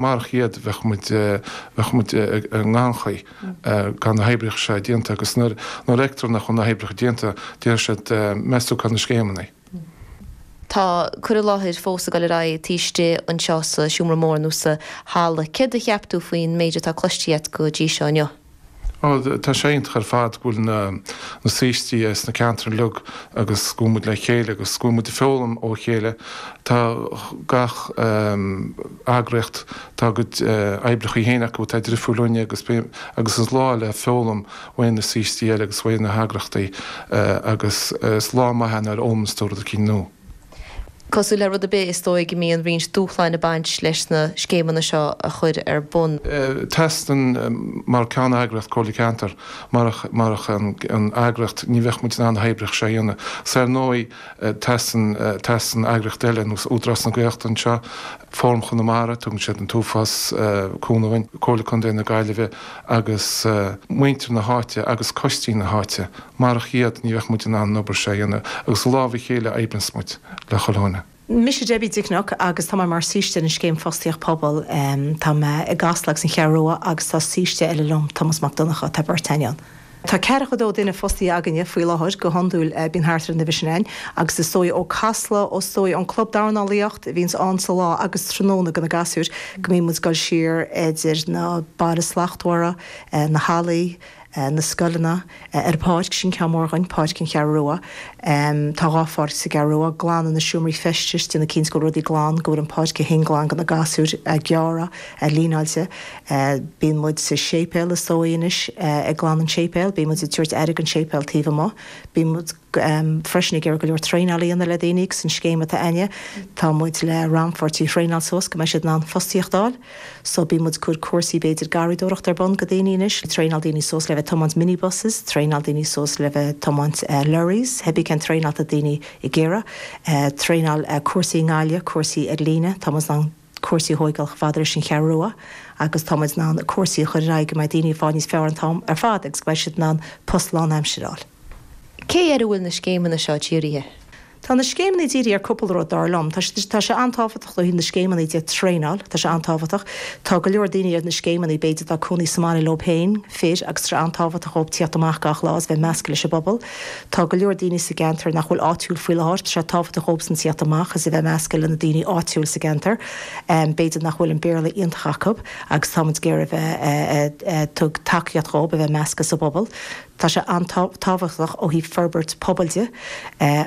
Marach iad bheadh muid, bheadh muid i ngannchaoi gan na hoibreacha seo déanta agus nuair a fheictear nach bhfuil na hoibreacha déanta déarfaidh siad meas tú cá bhfuil na scéimeanna. Tá cur i láthair fós ag dul ar aghaidh taobh istigh anseo sa seomra mór nó sa halla. Céard a cheap tú faoin méid atá cloiste agat go dtí seo inniu? Ó, tá sé iontach ar fad go bhfuil na saoistí as na ceantair uilig agus go bhfuil muid le chéile agus go bhfuil muid ag foghlaim ó chéile. Tá gach eagraíocht, tá a gcuid oibreachaí féin acu atá difriúil uainne agus agus is lá le foghlaim uaidh na saoistí eile agus uaidh na heagraíochtaí agus is lá maith é nuair a fhoghlaimíonns tú rud eicínt nua. Cosúil le rud ar bith, is dóigh go mbíonn roinnt dúshláin ag baint leis na scéimeanna seo a chur ar bun. Teastaíonn, mar ceanneagraíocht Comhairle Ceantair, marach marach an eagraíocht ní bheadh muid in ann na hoibreacha seo a dhéanamh. 'S ar ndóigh teastaíonn teastaíonn eagraíocht eile, ar nós Údarás na Gaeltachta anseo, Fóram Chonamara, tugann siad an t-uafás cúnamh dúinn, Comhairle Contae na Gaillimhe agus muintir na háite agus coistí na háite. Marach iad ní bheadh muid in ann an obair seo a dhéanamh agus i lámh a chéile a oibríonns muid le chuile dhuine. Mise Debbie Dicnock agus tá mé mar saoiste ar an Scéim Fostaíocht Pobail. Tá mé i gCasla agus an Cheathrú Rua agus tá saoiste eile liom, Tomás Mac Donncha, tá beirt againn ann. Tá ceathracha dó duine fostaithe againne faoi láthair, go hiondúil bíonn thart ar an uimhir sin ann agus is dóigh ó Casla, is dóigh ón Club Dornálaíocht a bhíonns ann sa lá agus tráthnóna do na gasúir go mbíonn muid ag dul siar idir na Baile Slachtmhara, na hallaí, na scoileanna, ar an pháirc, sin ceann mór dhuinn, Páirc an Cheathrú Rua. Tá dhá pháirc sa gCeathrú Rua, glanadh na seomraí feistis, déanamh cinnte go bhfuil rudaí glan, go bhfuil an pháirc í féin glan do na gasúir, gearrtha, líneáilte. Bíonn muid sa séipéal is dóigh anois ag glanadh an tséipéil, bíonn muid ag tabhairt aire don séipéal taobh amuigh. Bíonn muid freisin ag iarraidh go leor traenáil a dhéanamh le daoine agus an scéim atá againne, tá muid le rannpháirtí a thraenáil suas go mbeidh siad in ann fostaíocht a fháil. So bíonn muid ag cur cúrsaí b'fhéidir garraíodóireachta ar bun go daoine anois, traenáil daoine suas le bheith ag tiomáint minibuses, traenáil daoine suas le bheith ag tiomáint lorries, cibé cén traenáil atá daoine ag iarraidh, traenáil cúrsaí i nGaillimh, cúrsaí ar líne, tá muid in ann cúrsaí a thóigeáil chomh fada leis an Cheathrú Rua agus tá muid in ann cúrsaí a chur ar aghaidh go mbeidh daoine ag fáil níos fearr an t-am ar fad agus go mbeidh siad in ann post lánaimsire a fháil. Cé air a bhfuil na scéimeanna seo dírithe? Tá na scéimeanna dírithe ar cúpla rud, dar liom. Tá tá sé an-tábhachtach ó thaobh na scéimeanna de, traenáil, tá sé an-tábhachtach. Tá go leor daoine ar na scéimeanna, b'fhéidir, atá cónaí sa mbaile leo féin, fir, agus tá sé an-tábhachtach dhóibh tíocht amach gach lá is bheith measctha leis an bpobal. Tá go leor daoine sa gceantar nach bhfuil áitiúil faoi láthair, tá sé tábhachtach dhóibhsan tíocht amach is a bheith measctha le na daoine áitiúil sa gceantar. B'fhéidir nach bhfuil an Béarla iontach acu agus tá muid ag iarraidh a bheith ag tug tacaíocht dhóibh a bheith measctha sa bpobal. Tá sé an-tábhachtach ó thaobh forbairt pobail de,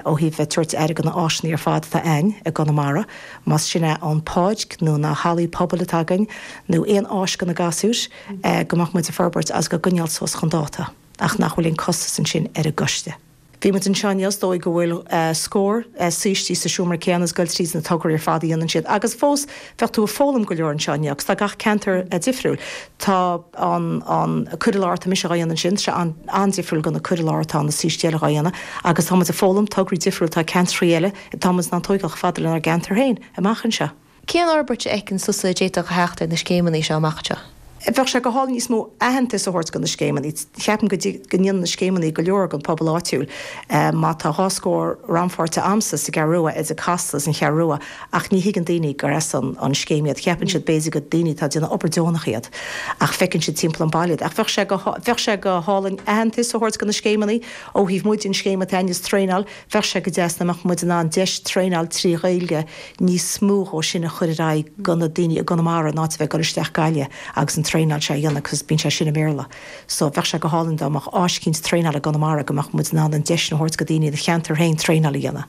ó thaobh bheith tabhairt aire do na áiseanna ar fad atá a'ainn i gConamara, más sin é an páirc nó na hallaí pobail atá againn nó aon áis do na gasúir, go mbeadh muid ag forbairt agus á gcoinneáil suas chun dáta ach nach bhfuil aon costas ansin ar an gcoiste. Bhí muid anseo inniu, is dóigh go bhfuil scór saoistí sa seomra céanna is ag goil tríd na tograí ar fad a dhéanann siad agus fós bheadh tú ag foghlaim go leor anseo inniu agus tá gach ceantar difriúil. Tá an an cur i láthair atá mise dhá dhéanamh ansin, tá sé an-difriúil go na cur i láthair atá na saoistí eile dhá dhéanamh agus tá muid ag foghlaim tograí difriúil atá ag ceantraí eile atá muid in ann tóigeáil chomh fada lenár gceantar féin amach anseo. Cén fhorbairt a fheiceann tusa a d'fhéadfadh a theacht ar na scéimeanna seo amach anseo? Bheadh sé go hálainn níos mó aitheantais a thabhairt do na scéimeanna. Ceapaim go go ndéanann na scéimeanna go leor don pobal áitiúil. Má tá dhá scór rannpháirtithe a'msa sa gCeathrú Rua, idir Casla is an Cheathrú Rua, ach ní thuigeann daoine gur as an an scéim iad. Ceapann siad b'fhéidir gur daoine atá ag déanamh obair deonach iad. Ach feiceann siad timpeall an baile iad. Ach bheadh sé go bheadh sé go hálainn aitheantas a thabhairt do na scéimeanna ó thaobh muid an scéim atá a'inn is traenáil Bheadh sé go deas dá mbeadh muid in ann deis traenáil trí Ghaeilge níos mó dhó sin a chur ar aghaidh go na daoine i gConamara in áit a bheith ag dul isteach Gaillimh agus an traenáil seo a dhéanamh cos bíonn sé sin i mBéarla. So bheadh sé go hálainn dá mbeadh áis eicínt traenála i gConamara go mbeadh muid in ann an deis sin a thabhairt go daoine ina cheantar féin traenáil a dhéanamh.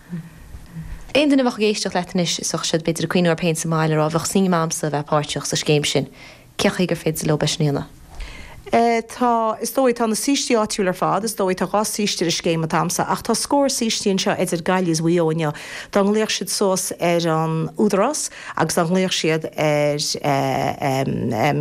Aon duine a bheadh ag éisteacht leat anois is bheadh siad b'fhéidir ag cuimhniú orthu féin sa mbaile ag rá bheadh suim a'msa a bheith páirteach sa scéim sin. Cén chaoi gur féidir leo é sin a dhéanamh? Tá, is dóigh, tá na saoistí áitiúil ar fad, is dóigh, tá dhá saoiste ar an scéim atá a'msa, ach tá scór saoistí anseo idir Gaillimh is Mhaigh Eo inniu. Dá nglaofadh siad suas ar an Údarás agus dá nglaofadh siad ar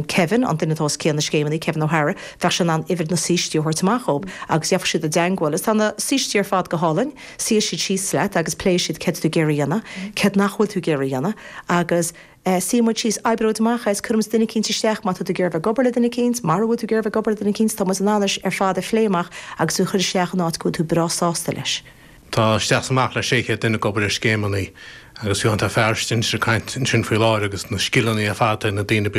Kevin, an duine atá os cionn na scéimeanna, Kevin O'Hara, bheadh sé in ann uimhir na saoistí a thabhairt amach dhób agus gheobhadh siad i dteangmháil. Is tá na saoistí ar fad go hálainn, suífidh siad síos leat agus pléifidh siad céard tá tú ag iarraidh a dhéanamh, céard nach bhfuil tú ag iarraidh a dhéanamh agus. Suífidh muid síos, oibreoidh muid amach é is cuirfidh muid duine eicínt isteach má tá tú ag iarraidh bheith ag obair le duine eicínt, mara bhfuil tú ag iarraidh bheith ag obair le duine eicínt, tá muid in ann é ar fad a phlé amach agus tú a chur isteach in áit go bhfuil tú breá sásta leis. Tá isteach is amach le 600 duine ag obair ar scéimeanna. Agus fiú tá fear istigh ansin ag caint ansin faoi láthair agus na scileanna ar fad atá ag na daoine.